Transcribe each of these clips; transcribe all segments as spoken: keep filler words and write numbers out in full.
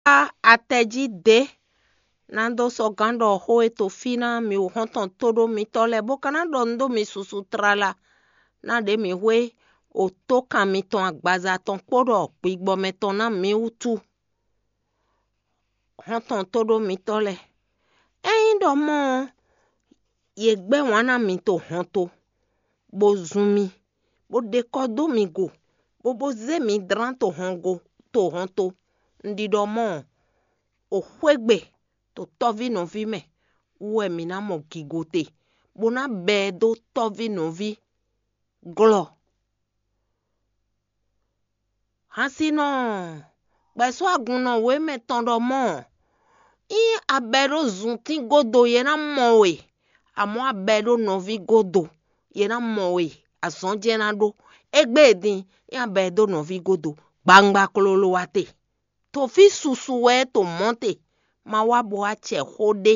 Atɛ jí dě ná dó sɔ́ gǎn ɖɔ xó e to fí ná mi xɔ́ntɔn tóɖó mitɔ́ lɛ́ɛ, bó ka ná ɖɔ nǔ dó mi susu tlala, ná ɖě mǐ hwe otókan mitɔn agbaza tɔn kpó ɖɔ gbigbɔ mɛtɔn ná mǐ wútu. Xɔ́ntɔn tóɖó mitɔ́ lɛ́ɛ, ényí ɖɔ mɔ̌ ɔ́, yě gbɛ́ wǎn ná mi to hɔnto, bó zun mi, bó ɖe kɔ́ dó mi go, bó bó zé mi dlán to hɔngo to hɔnto. Un ɖi ɖɔ mɔ̌ ɔ́, o xwé gbe to tɔ́ví nɔví mɛ wú wɛ mǐ ná mɔ gigo te, bó ná bɛ́ ɛ dó tɔ́ví nɔví glɔ́. Hansinɔ gbɛ̌sɔ́ agunnɔ wěmɛ tɔn ɖɔ mɔ̌ ɔ́, ényí a bɛ́ ɖó zuntín gúdo yě ná mɔ we, amɔ̌ a bɛ́ ɖó nɔví gúdo yě ná mɔ we, azɔn jɛ́n ná ɖó. Égbé e din, ényí a bɛ́ dó nɔví gúdo, gbangba tlóló wá te. To fí susu wɛ é to mɔ̌ te, ma wá bo wá cɛ xó ɖé.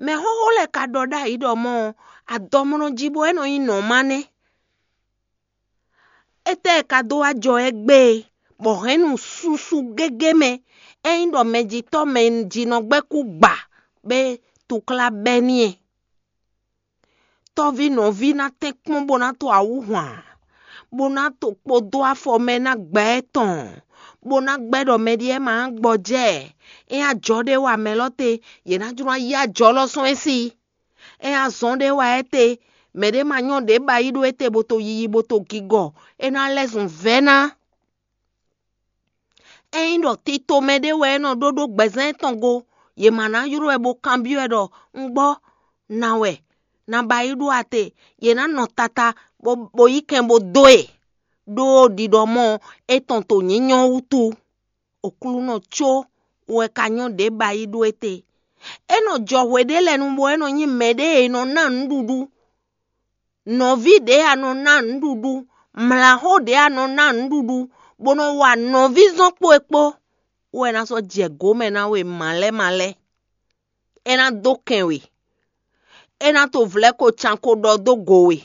Mɛxóxó lɛ́ɛ ka ɖɔ ɖ'ayǐ ɖɔ mɔ̌ ɔ́, adɔmlɔ́ jí bɔ é nɔ nyí nɔ̌ má nɛ́. Étɛ́ e ka dó wá jɔ égbé e, bɔ hɛ̌nnu susu gégé mɛ, ényí ɖɔ mɛjitɔ́ mɛ jí nɔ gbɛ́ kú gba bɔ é túklá bɛ́ n'i ɛ? Tɔ́ví nɔví ná tɛ́n kpɔ́n bó ná to awǔ hwan, bó ná to kpo dó afɔ mɛ ná gbɛ ɛ tɔn, bó ná gbɛ́ ɖɔ mɛ ɖíe ma gbɔjɛ́ ɛ. É ajɔ ɖé wa mɛ lɔ te, yě ná jló ná yí ajɔ lɔ sɔ́n ɛ sí. É azɔn ɖé wa ɛ te, mɛɖé ma nyɔ́ ɖě ba yí ɖó étɛ́ bó to yiyi bó to gigɔ, é ná lɛ́ zun vɛ́ ná. Ényí ɖɔ tito mɛ ɖé wɛ é nɔ ɖó ɖó gbɛzán étɔn go, yě ma ná ylɔ́ ɛ bó kanbyɔ́ ɛ ɖɔ: Un gbɔ, na wɛ, na ba yí ɖó ate? Yě ná nɔ tata bó bó yí kɛn bó dó e, ɖó ɖiɖɔ mɔ étɔn to nyǐnyɔ́ wútu. Oklúnɔ có wɛ ka nyɔ́ ɖě ba yí ɖó étɛ́. É nɔ jɔ hwe ɖé lɛ́ɛ nu bɔ é nɔ nyí mɛɖé e nɔ ná nǔɖuɖu. Nɔví ɖě a nɔ ná nǔɖuɖu, mlǎxó ɖě a nɔ ná nǔɖuɖu, bó nɔ wa nɔví zɔn kpó e kpó, wɛ ná sɔ́ jɛ gǒ mɛ ná we malɛ́ malɛ́. É ná dó kɛn we, é ná to vlɛ̌ ko can ko ɖɔ dó go we.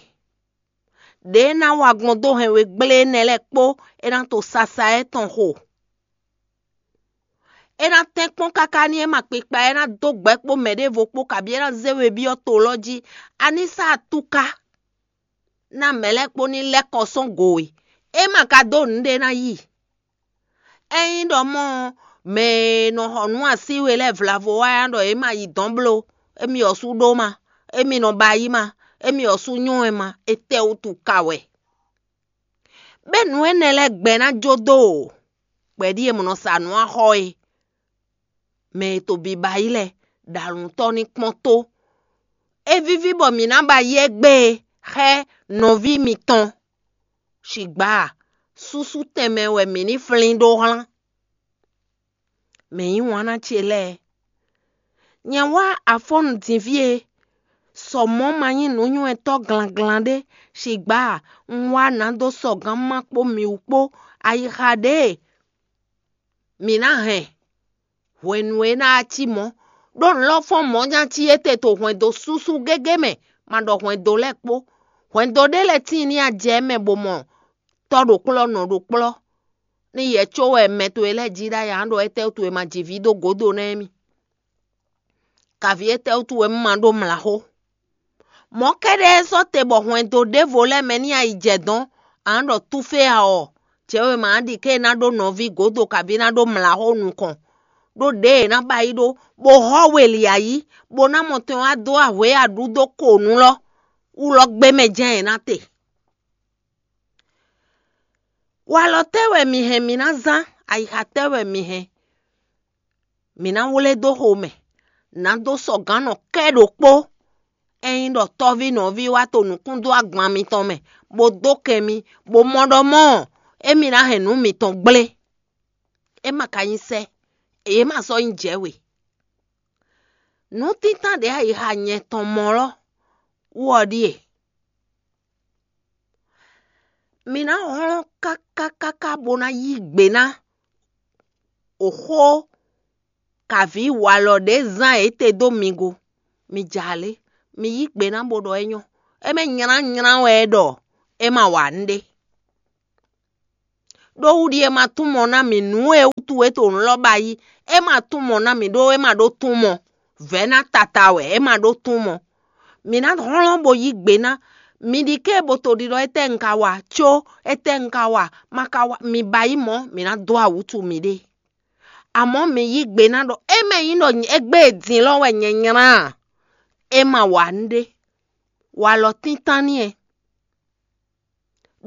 Ɖě é ná wa gbɔn dó hɛn we gblé énɛ́ lɛ́ɛ kpó, é ná to sasa étɔn xo. É ná tɛ́n kpɔ́n káká ní é ma kpikpa, é ná dó gbɛ̌ kpó mɛɖěvo kpó, kabí é ná zé we byɔ́ to lɔ jí. A ní sá atúká ná mɛ lɛ́ɛ kpó ní lɛ́ kɔ sɔ́n go we. É ma ka dó nǔɖé ná yi. Ényí ɖɔ mɔ̌ ɔ́, mɛ e nɔ xɔ nǔ así we lɛ́ɛ vlavo wá ná ɖɔ é ma yi dɔ̌n bló, émí ɔ́ sú ɖó ma, émí nɔ ba yí ma, émí ɔ́ sú nyɔ́ wɛ ma, étɛ́wútu ka wɛ? Bɛ́ nǔ énɛ́ lɛ́ɛ gbɛ ná jó dó o, gbɛ̌ ɖíe mɔ nɔ sa nǔ axɔ é. Mɛ e to biba yí lɛ́ɛ ɖo alǔntɔ́ ní kpɔ́n tó. É víví bɔ mǐ ná ba yí égbé e, xá nɔví mitɔn. Sigbǎ, súsú tɛnmɛ wɛ mǐ ní flín ɖó hlán. Mɛ yí wǎn ná ce lɛ́ɛ. Nyɛ wá afɔ́nnu din fí e, sɔ mɔ̌ ma nyí nǔnywɛ́tɔ́ glanglan ɖé, sigbǎ un wá nǎ dó sɔgǎn má kpó mǐ wú kpó. Ayixa ɖě e mǐ ná hɛn hwenu e ná cí mɔ̌, ɖó nǔ lɔ fɔ́n mɔ̌ ná cí étɛ́ to hwɛndo súsú gégé mɛ, ma ɖɔ hwɛndo lɛ́ɛ kpó. Hwɛndo ɖé lɛ́ɛ tíin ní a jɛ mɛ bó mɔ tɔ́ ɖo kplɔ́, nɔ ɖo kplɔ́, ní yɛ có wɛ mɛ towe lɛ́ɛ jí ɖ'ayǐ ǎ, ɖɔ étɛ́ towe ma ji vǐ dó gǒdo ná émí? Kaví étɛ́ wútu wɛ un ma ɖó mlǎxó? Mɔ̌ kɛ́ɖɛ́ sɔ́ te bɔ hwɛndo ɖěvo lɛ́ɛ mɛ ní a yi jɛ dɔ̌n, a nǎ ɖɔ túfé a ɔ́, jɛ̌ wěma ǎ ɖi ké e ná ɖó nɔví gǒdo kabí ná ɖó mlǎxó nukɔn, ɖó ɖěe è nǎ ba yí ɖó, bó hɔ́ we li ayǐ, bó ná mɔ tɛn wá dó ahwě aɖú dó ko nǔ lɔ wú lɔ gbé mɛ jɛ́n è nǎ te. Walɔ tɛ́ wɛ mi hɛn mi ná zán? Ayixa tɛ́ wɛ mi hɛn mi ná wlé dó xomɛ? Nǎ dó sɔgǎnnɔ kɛ́ ɖokpó. Ényí ɖɔ tɔ́ví nɔví wá to nǔkún dó agban mitɔn mɛ, bó dó kɛn mi, bó mɔ ɖɔ mɔ̌ ɔ́, émí ná hɛn nǔ mitɔn gblé. É ma ka nyí sɛ́, yě ma sɔ́ nyí jɛ̌ we. Nǔtíntan ɖě ayixa nyɛ tɔn mɔ lɔ wú ɔ́ ɖíe: mi ná hlɔ́n káká káká bó ná yí gbe ná oxó kavǐ walɔ ɖě zán yě te dó mi go. Mi ja lě, mi yí gbe ná bó ɖɔ é nyɔ́. É mɛ nylá nylá wɛ é ɖɔ é ma wa nǔɖé. Ɖó wúɖi e ma tún mɔ ná mì nǔ e wútu é to nǔ lɔ ba yí, é ma tún mɔ ná mì ɖó é ma ɖó tún mɔ. Vɛ̌ ná tata wɛ é ma ɖó tún mɔ. Mǐ ná hlɔ́n bó yí gbe ná mi ɖi ké bo to ɖiɖɔ étɛ́ un ka wa có étɛ́ un ka wa ma ka wa mi ba yí mɔ̌, mǐ ná dó awǔtu miɖée. Amɔ̌ mi yí gbe ná ɖɔ é mɛ nyí ɖɔ égbé e din lɔ wɛ nyɛ nylá a, é ma wa nǔɖé. Walɔ tíntán n'i wɛ,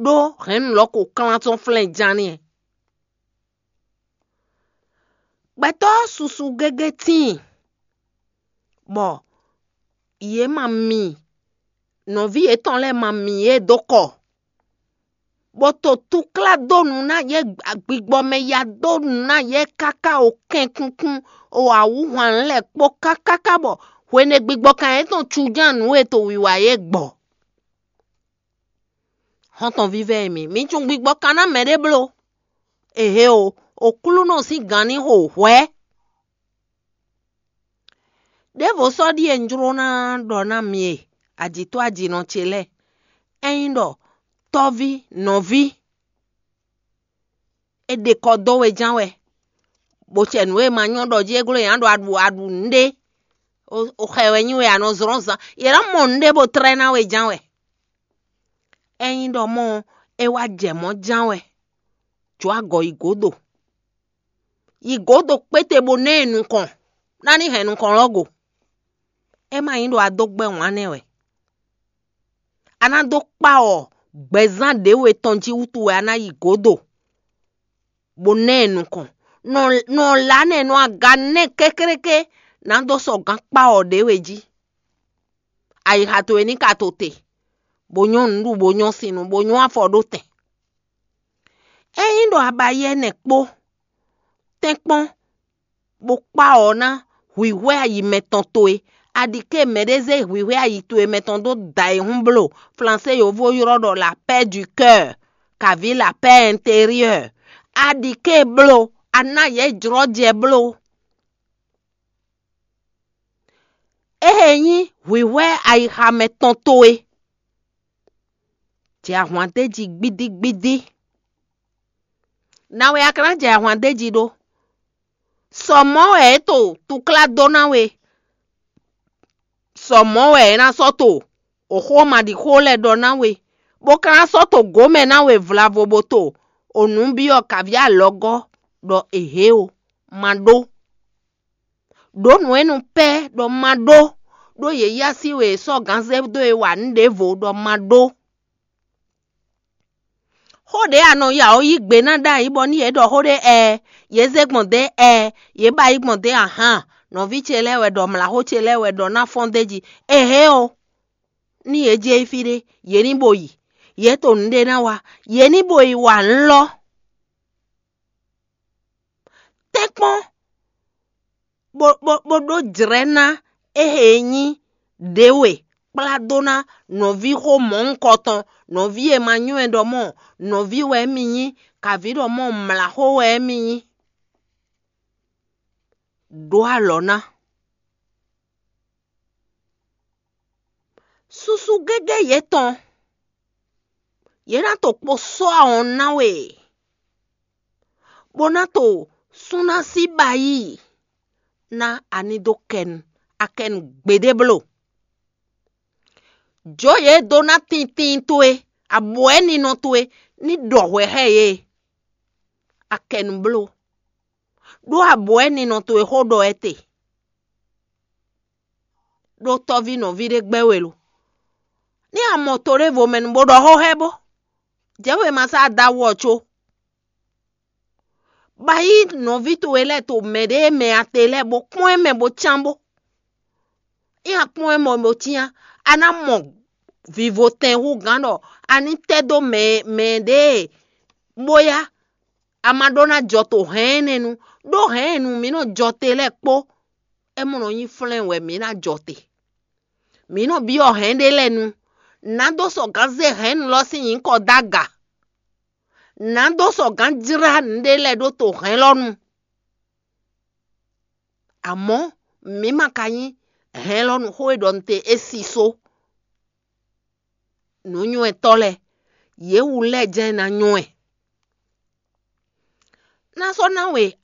ɖó hɛ̌nnu lɔ ko klán tɔn flɛ́n ján n'i wɛ. Gbɛtɔ́ susu gégé tíin, bɔ yě ma mi nɔví yětɔn lɛ́ɛ ma mi yě dó kɔ, bó to túklá dó nǔ ná yě, gbigbɔ mɛ ya dó nǔ ná yě káká o kɛnkunkun, o awǔhwan lɛ́ɛ kpó kákáká bɔ hwenu e gbigbɔ kan yětɔn cuján nǔ e to wiwa yě gbɔ. Xɔ́ntɔn vívɛ́ e mi, mi cun gbigbɔ kan ná mɛɖé bló. Ehe o, Oklúnɔ sín gǎn ní xo hwɛ̌. Đěvo sɔ́ ɖíe un jló ná ɖɔ ná mi e ajǐtɔ́ ajinɔ ce lɛ́ɛ, é nyí ɖɔ tɔ́ví nɔví, é ɖe kɔ dó we ján wɛ, bó cɛ nǔ e ma nyɔ́ ɖɔ jí é gló nyi aɖu aɖu aɖu nǔɖé, o xɛ wɛ nyí we a nɔ zlɔ́n zan, yě ná mɔ nǔɖé bó tlɛ́ ná we ján wɛ. É nyí ɖɔ mɔ é wá jɛ mɔ̌ ján wɛ, jǒ agɔ yi gǒdo. Yi gǒdo kpéte bó ná ɛ nukɔn, ná ní hɛn nukɔn lɔ́ go. É ma nyí ɖɔ a dó gbɛ́ wǎn nɛ́ wɛ. A ná dó kpá ɔ gbɛzán ɖěwe tɔn jí wútu wɛ a ná yi gǒdo, bó ná ɛ nukɔn. Nɔ nɔ lá nɛ́ nɔ aga nɛ́ kékréké, nǎ dó sɔ gǎn kpá ɔ ɖěwe jí. Ayixa towe ní ka to te, bó nyɔ́ nǔɖuɖu, bó nyɔ́ sinu, bó nyɔ́ afɔ ɖó tɛn. Ényí ɖɔ a ba yɛ́ nɛ́ kpó, tɛ́nkpɔ́n, bó kpá ɔ ná hwǐhwɛ́ ayi mɛtɔn towe, a ɖi ké mɛɖé zé hwǐhwɛ́ ayi towe mɛtɔn dó da e hún bló, Flansé yovo ylɔ́ ɖɔ la paix du cœur, kaví la paix intérieure. A ɖi ké bló, a ná yě jlɔ́ jɛ bló. Éhe nyí hwǐhwɛ́ ayixa mɛtɔn towe. Jɛ ahwan d'é jí gbídígbídí. Nǎwe a ka ná jɛ ahwan d'é jí ɖó? Sɔ mɔ̌ wɛ é to túklá dó ná we. Sɔ mɔ̌ wɛ é ná sɔ́ to òxó maɖixó lɛ́ɛ ɖɔ ná we, bó ka ná sɔ́ to gǒ mɛ ná we vlavo bó to o nǔ byɔ́ kaví alɔgɔ́ ɖɔ è hě o, ma ɖó. Ɖǒ nǔ e nu pɛ́ ɖɔ ma ɖó, ɖó yě yí así we è sɔ́ gǎn zé dó e wa nǔ ɖěvo ɖɔ ma ɖó. Xó ɖě a nɔ ya ɔ́ yí gbe ná ɖ'ayǐ bɔ nú yě ɖɔ xó ɖé ɛɛ, yě zé gbɔn dě ɛɛ, yě ba yí gbɔn dě ahan, nɔví ce lɛ́ɛ wɛ ɖɔ mlǎxó ce lɛ́ɛ wɛ ɖɔ ná fɔ́n d'é jí. Ehé o, ní yě jɛ yi fí ɖé, yě ní bo yi. Yě to nǔɖé ná wa, yě ní bo yi wa nǔ lɔ. Tɛ́nkpɔ́n bó bó bó ɖó jlɛ̌ ná éhe e nyí ɖě we kplá dó ná nɔví xó mɔ̌hunkɔtɔn, nɔví e ma nywɛ́ ɖɔ mɔ nɔví wɛ émí nyí, kaví ɖɔ mɔ mlǎxó wɛ émí nyí. Ɖó alɔ ná. Susu gégé yětɔn, yě ná to kpo sɔ́ awɔn ná we, bó ná to súnná sí ba yí ná a ní dó kɛnu, a kɛnu gbeɖé bló. Jǒ yě dó ná tintin towe, abwɛ̌ninɔ towe ní ɖɔ hwɛ xá yě. A kɛnu bló, ɖó abwɛ̌ninɔ towe xó ɖɔ wɛ te. Ɖó tɔ́ví nɔví ɖé gbɛ́ we lo. Ní a mɔ to ɖěvo mɛ nu bó ɖɔ xó xá ɛ bó, jɛ̌ wěma sá da wú ɔ́ có. Ba yí nɔví towe lɛ́ɛ to mɛ ɖě e mɛ a te lɛ́ɛ bó kpɔ́n ɛ mɛ bó cyán bó. Ní a kpɔ́n ɛ mɛ bó cyán, a ná mɔ vivotɛn hú gǎn ɖɔ a ní tɛ́ dó mɛ mɛ ɖě e bó yá, a ma ɖó ná jɔ to hɛ̌n énɛ́ nu, ɖó hɛ̌n e nu mǐ nɔ jɔ te lɛ́ɛ kpó, é mɔ nɔ nyí flɛ́n wɛ mǐ ná jɔ te. Mǐ nɔ byɔ́ hɛ̌n ɖé lɛ́ɛ nu, nǎ dó sɔ gǎn zé hɛ̌nnu lɔ sín nyǐkɔ dó aga. Nǎ dó sɔ gǎn jlá nǔɖé lɛ́ɛ ɖó to hɛ̌n lɔ nu. Amɔ̌, mǐ ma ka nyí hɛ̌n lɔ nu xó e ɖɔ un te é sísó. Nǔnywɛ́tɔ́ lɛ́ɛ, yě wu lɛ́ɛ jɛ́n ná nywɛ́. ná sɔ́ ná we